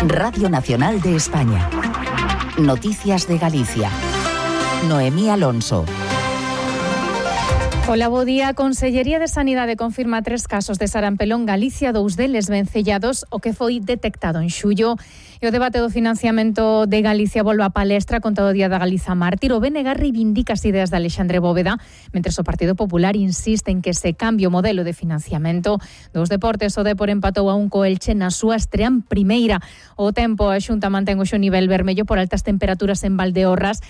Radio Nacional de España. Noticias de Galicia. Noemí Alonso. Hola, bo día. A Consellería de Sanidade confirma 3 casos de sarampión en Galicia, 2 deles vencellados, o que foi detectado en xullo. E o debate do financiamento de Galicia volve á palestra con todo o Día da Galiza Mártir. O BNG reivindica as ideas de Alexandre Bóveda, mentres o Partido Popular insiste en que se cambie o modelo de financiamento. Dos deportes, o Depor empatou a 1 co Elche na súa estrea en primeira. O tempo, a Xunta mantén o nivel vermello por altas temperaturas en Valdeorras.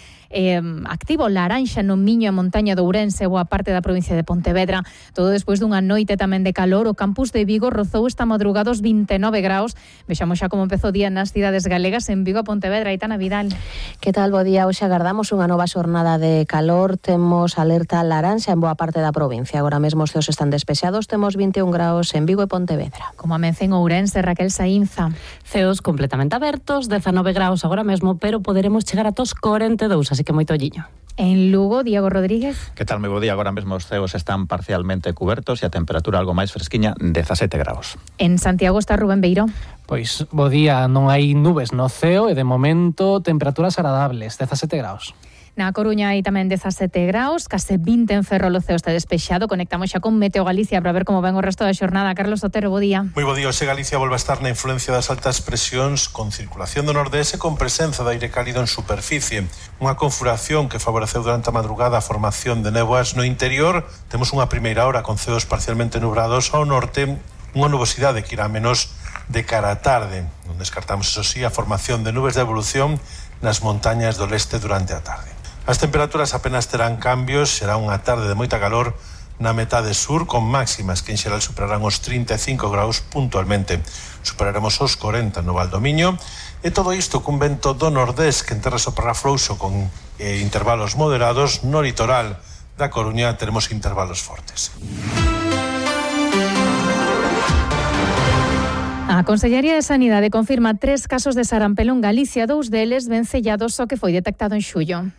Activo laranxa no Miño e Montaña de Ourense, boa parte da provincia de Pontevedra. Todo despois dunha noite tamén de calor. O campus de Vigo rozou esta madrugada os 29 graus. Vexamos xa como empezou o día nas cidades galegas. En Vigo, Pontevedra, Aitana Vidal. Que tal, bo día? Hoxe agardamos unha nova xornada de calor. Temos alerta laranxa en boa parte da provincia. Agora mesmo os ceos están despexados. Temos 21 graus en Vigo e Pontevedra. Como amence en Ourense, Raquel Saínza. Ceos completamente abertos, 19 graus agora mesmo, pero poderemos chegar a tos 42, así que moito olliño. En Lugo, Diego Rodríguez. Que tal, moi bo día? Agora mesmo os ceos están parcialmente cubertos e a temperatura algo máis fresquiña, 17 graus. En Santiago está Rubén Beiró. Pois, bo día, non hai nubes no ceo e de momento temperaturas agradables, 17 graus. Na Coruña hai tamén 17 graus, case 20 en Ferrol, o ceo está despexado. Conectamos xa con Meteo Galicia para ver como ven o resto da xornada. Carlos Otero, bo día. Moi bo día. Hoxe Galicia volve a estar na influencia das altas presións con circulación do nordés e con presenza de aire cálido en superficie. Unha configuración que favoreceu durante a madrugada a formación de néboas no interior. Temos unha primeira hora con ceos parcialmente nubrados ao norte, unha nubosidade que irá menos de cara á tarde. Non descartamos, eso sí, a formación de nubes de evolución nas montañas do leste durante a tarde. As temperaturas apenas terán cambios, será unha tarde de moita calor na metade sur, con máximas que en xeral superarán os 35 graus puntualmente. Superaremos os 40 no Valdomiño, e todo isto cun vento do nordés que en terra soprará frouxo con intervalos moderados. No litoral da Coruña teremos intervalos fortes. A Consellería de Sanidade confirma 3 casos de sarampión en Galicia, 2 deles vencellados, o que foi detectado en xullo.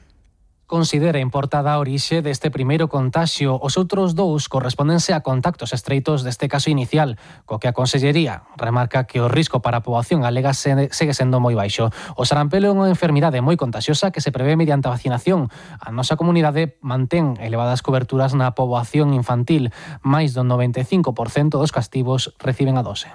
Considera importada a orixe deste primeiro contaxio. Os outros 2 correspóndense a contactos estreitos deste caso inicial, co que a Consellería remarca que o risco para a poboación galega segue sendo moi baixo. O sarampión é unha enfermidade moi contaxiosa que se prevé mediante a vacinación. A nosa comunidade mantén elevadas coberturas na poboación infantil. Máis do 95% dos castivos reciben a dose.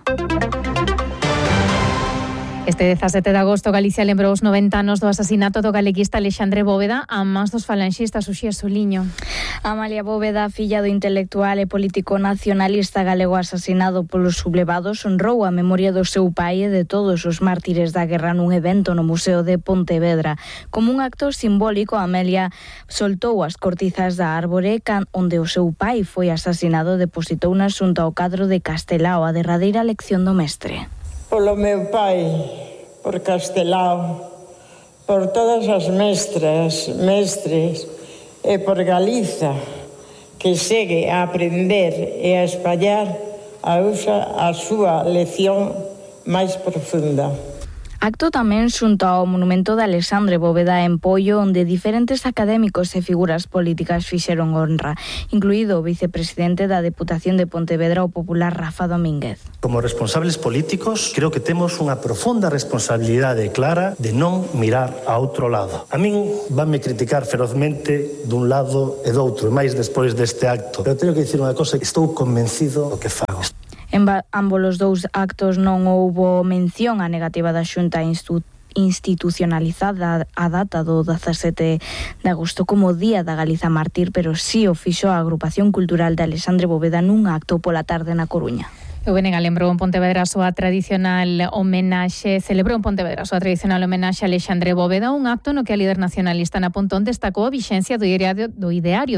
Este 17 de agosto, Galicia lembrou os 90 anos do asasinato do galeguista Alexandre Bóveda a mans dos falanxistas Uxía Soliño. Amalia Bóveda, filla do intelectual e político nacionalista galego asasinado polos sublevados, honrou a memoria do seu pai e de todos os mártires da guerra nun evento no Museo de Pontevedra. Como un acto simbólico, Amelia soltou as cortizas da árbore onde o seu pai foi asasinado e depositou na xunta ao cadro de Castelao a derradeira lección do mestre. Polo meu pai, por Castelao, por todas as mestras, mestres e por Galiza, que segue a aprender e a espallar a súa lección máis profunda. Acto tamén xunto ao monumento de Alexandre Bóveda en Poio, onde diferentes académicos e figuras políticas fixeron honra, incluído o vicepresidente da Deputación de Pontevedra, o popular Rafa Domínguez. Como responsables políticos, creo que temos unha profunda responsabilidade clara de non mirar a outro lado. A min vanme criticar ferozmente dun lado e do outro, e máis despois deste acto. Pero teño que dicir unha cosa, estou convencido do que fago. En ambos os 2 actos non houbo mención á negativa da Xunta institucionalizada a data do 17 de agosto como Día da Galiza Mártir, pero sí o fixo a Agrupación Cultural de Alexandre Bóveda nun acto pola tarde na Coruña. O BNG celebrou en Pontevedra a súa tradicional homenaxe a Alexandre Bóveda, un acto no que a líder nacionalista na Pontón destacou a vixencia do ideario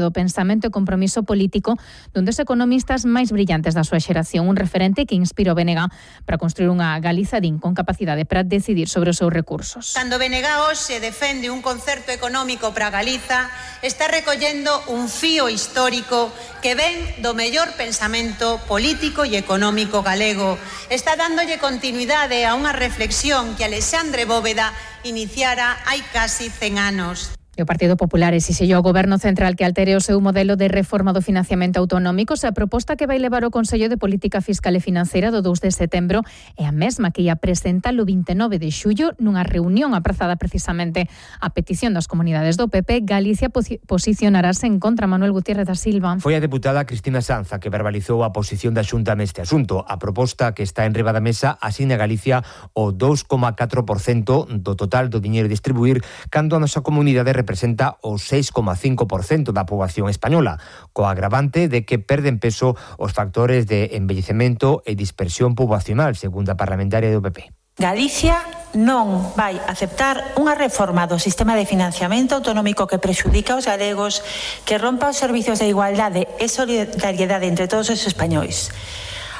do pensamento e compromiso político dun dos economistas máis brillantes da súa xeración, un referente que inspirou o BNG para construir unha Galiza con capacidade para decidir sobre os seus recursos. Cando BNG hoxe defende un concerto económico para Galiza, está recollendo un fío histórico que ven do mellor pensamento político e económico galego. Está dándolle continuidade a unha reflexión que Alexandre Bóveda iniciara hai casi 100 anos. E o Partido Popular exixeu ao Goberno Central que altere o seu modelo de reforma do financiamento autonómico. A proposta que vai levar o Consello de Política Fiscal e Financeira do 2 de setembro é a mesma que ia presentar o 29 de xullo nunha reunión aprazada precisamente a petición das comunidades do PP. Galicia posicionarase en contra. Manuel Gutiérrez da Silva. Foi a deputada Cristina Sanza que verbalizou a posición da Xunta neste asunto. A proposta que está enriba da mesa asigna a Galicia o 2,4% do total do diñeiro a distribuir, cando a nosa comunidade representa o 6,5% da poboación española, co agravante de que perden peso os factores de envellecemento e dispersión poboacional, segundo a parlamentaria do PP. Galicia non vai aceptar unha reforma do sistema de financiamento autonómico que prexudica aos galegos, que rompa os servizos de igualdade e solidariedade entre todos os españois.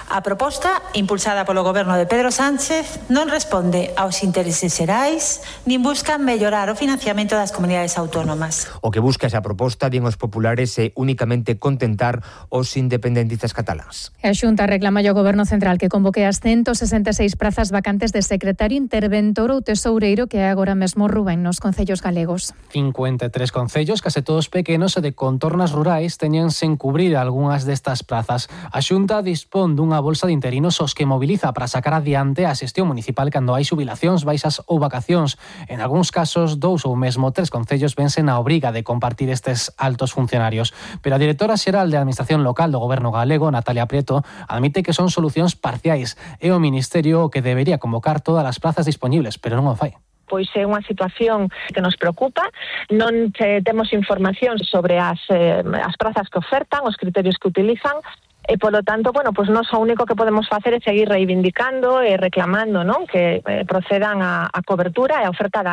A proposta, impulsada polo goberno de Pedro Sánchez, non responde aos intereses xerais nin busca mellorar o financiamento das comunidades autónomas. O que busca esa proposta, din os populares, é únicamente contentar os independentistas cataláns. A Xunta reclama ao Goberno Central que convoque as 166 prazas vacantes de secretario interventor ou tesoureiro que é agora mesmo Rubén nos concellos galegos. 53 concellos, case todos pequenos e de contornas rurais, teñen sen cubrir algunhas destas prazas. A Xunta dispón dunha bolsa de interinos os que moviliza para sacar adiante a xestión municipal cando hai xubilacións, baixas ou vacacións. En algúns casos, 2 ou mesmo 3 concellos vensen a obriga de compartir estes altos funcionarios. Pero a directora xeral de Administración Local do Goberno galego, Natalia Prieto, admite que son solucións parciais e o Ministerio o que debería convocar todas as plazas disponibles, pero non o fai. Pois é unha situación que nos preocupa, non temos información sobre as prazas que ofertan, os criterios que utilizan, e polo tanto, pois nós o único que podemos facer é seguir reivindicando e reclamando, non, que procedan a cobertura e a oferta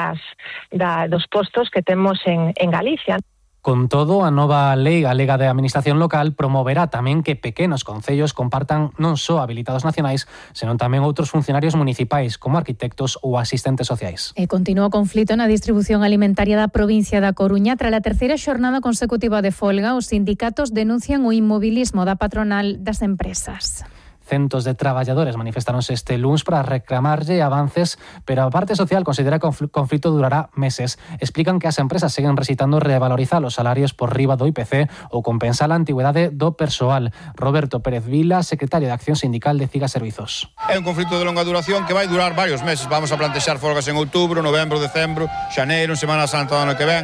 dos postos que temos en Galicia. Con todo, a nova lei galega de administración local promoverá tamén que pequenos concellos compartan non só habilitados nacionais, senón tamén outros funcionarios municipais, como arquitectos ou asistentes sociais. E continúa o conflito na distribución alimentaria da provincia da Coruña. Tras a terceira xornada consecutiva de folga, os sindicatos denuncian o inmobilismo da patronal das empresas. Centos de traballadores manifestaronse este luns para reclamarlle avances, pero a parte social considera que o conflito durará meses. Explican que as empresas seguen recitando revalorizar os salarios por riba do IPC ou compensar a antigüedade do persoal. Roberto Pérez Vila, secretario de Acción Sindical de CIGA Servizos. É un conflito de longa duración que vai durar varios meses. Vamos a plantexar folgas en outubro, novembro, decembro, xaneiro, en Semana Santa do ano que ven,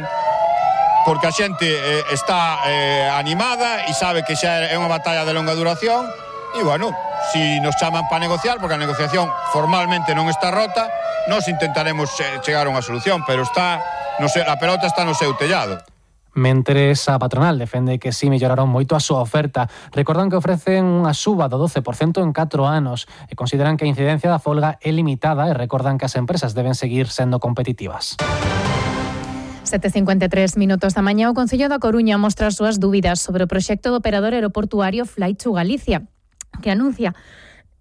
porque a xente está animada e sabe que xa é unha batalla de longa duración. E, si nos chaman para negociar, porque a negociación formalmente non está rota, nós intentaremos chegar a unha solución, pero a pelota está no seu tellado. Mentres a patronal defende que si melloraron moito a súa oferta. Recordan que ofrecen unha suba do 12% en 4 anos e consideran que a incidencia da folga é limitada e recordan que as empresas deben seguir sendo competitivas. 7:53 minutos da mañá, o Concello da Coruña mostra as súas dúbidas sobre o proxecto do operador aeroportuario Flight to Galicia, que anuncia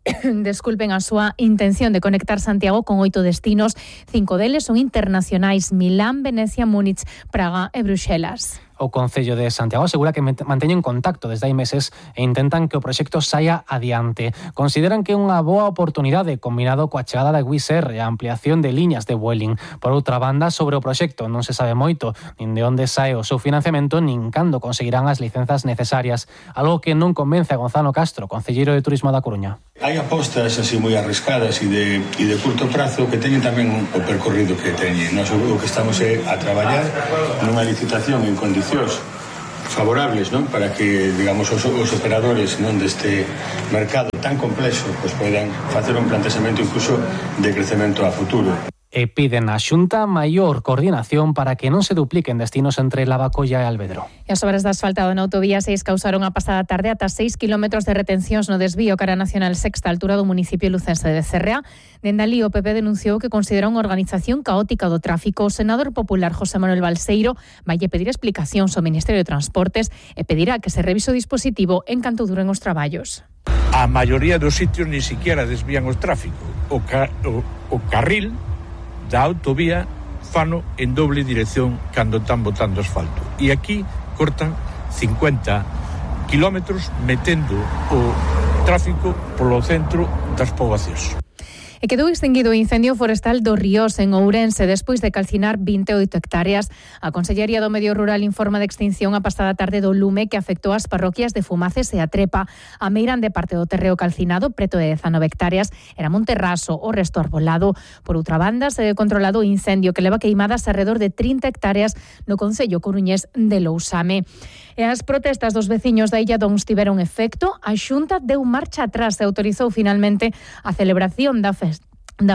a súa intención de conectar Santiago con 8 destinos. 5 deles son internacionais: Milán, Venecia, Múnich, Praga e Bruxelas. O Concello de Santiago asegura que manteñen contacto desde hai meses e intentan que o proxecto saia adiante. Consideran que é unha boa oportunidade combinado coa chegada da Wizz Air e a ampliación de liñas de Vueling. Por outra banda, sobre o proxecto non se sabe moito, nin de onde sae o seu financiamento, nin cando conseguirán as licenzas necesarias, algo que non convence a Gonzalo Castro, concelleiro de Turismo da Coruña. Hai apostas así moi arriscadas e de curto prazo que teñen tamén o percorrido que teñen. Nós o que estamos é a traballar nunha licitación en condicións favorables, non, para que, digamos, os operadores, non, deste mercado tan complexo, pues poidan facer un planteamento incluso de crecemento a futuro. E piden á Xunta maior coordinación para que non se dupliquen destinos entre Lavacolla e Alvedro. E as obras de asfaltado na autovía 6 causaron a pasada tarde ata 6 kilómetros de retencións no desvío cara Nacional Sexta, altura do municipio lucense de Cerrea. Dende alí, o PP denunciou que considera unha organización caótica do tráfico. O senador popular José Manuel Balseiro vai pedir explicacións ao Ministerio de Transportes e pedirá que se revise o dispositivo en canto duren os traballos. A maioría dos sitios ni siquiera desvían o tráfico. O carril da autovía fano en doble dirección cando están botando asfalto. E aquí cortan 50 kilómetros metendo o tráfico polo centro das poboacións. E quedou extinguido o incendio forestal do Ríos en Ourense despois de calcinar 28 hectáreas. A Consellería do Medio Rural informa de extinción a pasada tarde do lume que afectou as parroquias de Fumaces e a Trepa. A meirande parte do terreo calcinado, preto de 19 hectáreas, era Monterraso, o resto arbolado. Por outra banda, se controlado o incendio que leva queimadas alrededor de 30 hectáreas no concello coruñés de Lousame. E as protestas dos veciños da Illa Dons tiveron efecto. A Xunta deu marcha atrás e autorizou finalmente a celebración da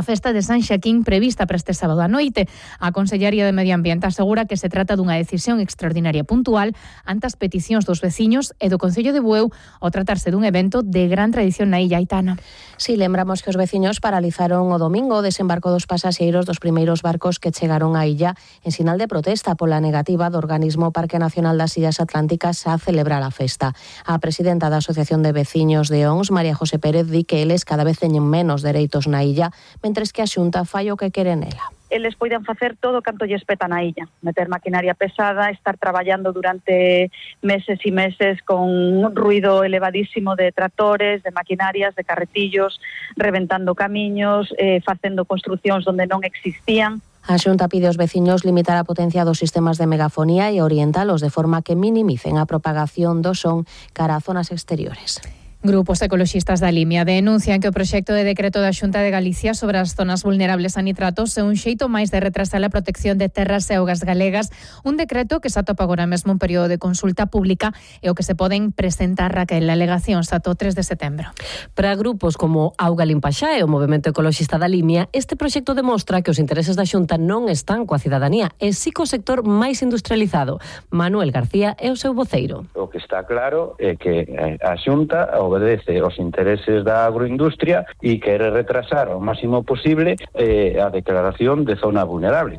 festa de San Xaquín prevista para este sábado a noite. A Consellería de Medio Ambiente asegura que se trata dunha decisión extraordinaria puntual ante as peticións dos veciños e do Concello de Bueu ao tratarse dun evento de gran tradición na Illa Aitana. Si, lembramos que os veciños paralizaron o domingo o desembarco dos pasaxeiros dos primeiros barcos que chegaron á illa en sinal de protesta pola negativa do organismo Parque Nacional das Illas Atlánticas a celebrar a festa. A presidenta da Asociación de Veciños de Ons, María José Pérez, di que eles cada vez teñen menos dereitos na illa, mentres que a Xunta fai o que quere nela. Eles poden facer todo canto lles peta na illa, meter maquinaria pesada, estar traballando durante meses e meses con un ruido elevadísimo de tractores, de maquinarias, de carretillos, reventando camiños, facendo construcións onde non existían. A Xunta pide aos veciños limitar a potencia dos sistemas de megafonía e orientalos de forma que minimicen a propagación do son cara a zonas exteriores. Grupos ecoloxistas da Limia denuncian que o proxecto de decreto da Xunta de Galicia sobre as zonas vulnerables a nitratos é un xeito máis de retrasar a protección de terras e augas galegas, un decreto que se atopa agora mesmo un período de consulta pública e o que se poden presentar, Raquel, alegacións ata o 3 de setembro. Para grupos como Auga Limpaxá e o Movemento Ecoloxista da Limia, este proxecto demostra que os intereses da Xunta non están coa cidadanía, e si co sector máis industrializado. Manuel García é o seu voceiro. O que está claro é que a Xunta obedece aos intereses da agroindustria e quere retrasar ao máximo posible a declaración de zona vulnerable.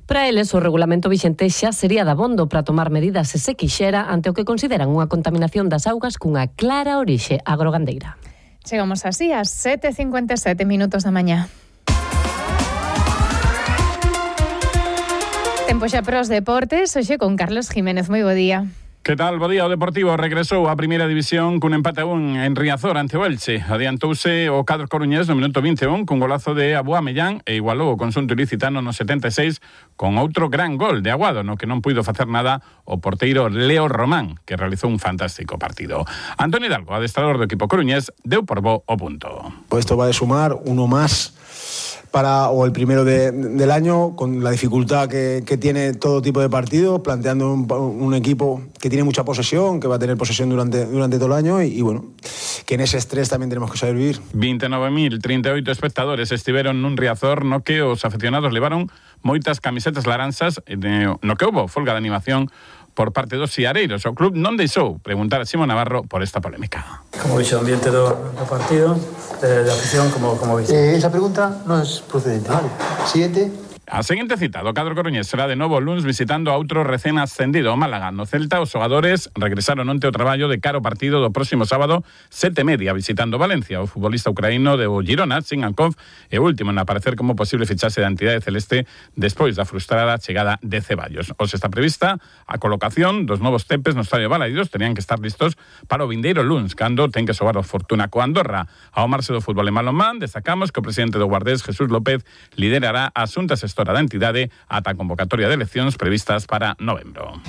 Para eles, o regulamento vixente xa sería dabondo para tomar medidas se se quixera ante o que consideran unha contaminación das augas cunha clara orixe agrogandeira. Chegamos así ás 7:57 minutos da mañá. Tempo xa para os deportes, hoxe con Carlos Jiménez. Moi bo día. Que tal? Bo día, o Deportivo regresou á primeira división cun empate a 1 en Riazor ante o Elche. Adiantouse o cadro coruñés no minuto 21 cun golazo de Abúa Mellán e igualou o conxunto ilicitano no 76 con outro gran gol de Aguado, no que non puido facer nada o porteiro Leo Román, que realizou un fantástico partido. Antonio Hidalgo, adestrador do equipo coruñés, deu por bo o punto. Esto va a sumar uno más o el primero del año, con la dificultad que tiene todo tipo de partidos, planteando un equipo que tiene mucha posesión, que va a tener posesión durante todo el año y bueno, que en ese estrés también tenemos que saber vivir. 29.038 espectadores estiveron nun Riazor no que os aficionados levaron moitas camisetas laranxas no que houbo folga de animación por parte dos siareiros. O club non deixou preguntar a Simón Navarro por esta polémica. Como vixe o ambiente do partido, de afición, como vixe? Esa pregunta non é procedente, vale? Siguiente. A seguinte cita do cadro coruñés será de novo o luns visitando a outro recén ascendido, o Málaga. No Celta, os xogadores regresaron onte ao traballo de cara ao partido do próximo sábado, 7:30, visitando Valencia. O futbolista ucraíno de Girona, Tsingankov, é o último en aparecer como posible fichaxe da entidade celeste despois da frustrada chegada de Ceballos. Os está prevista a colocación dos novos tempes no Estadio Balaidos, tenían que estar listos para o vindeiro luns, cando ten que xogar o Fortuna co Andorra. Ao marxe do fútbol en balonmán, destacamos que o presidente do Guardés, Jesús López, liderará a xunta xestora da entidade ata a convocatoria de eleccións previstas para novembro.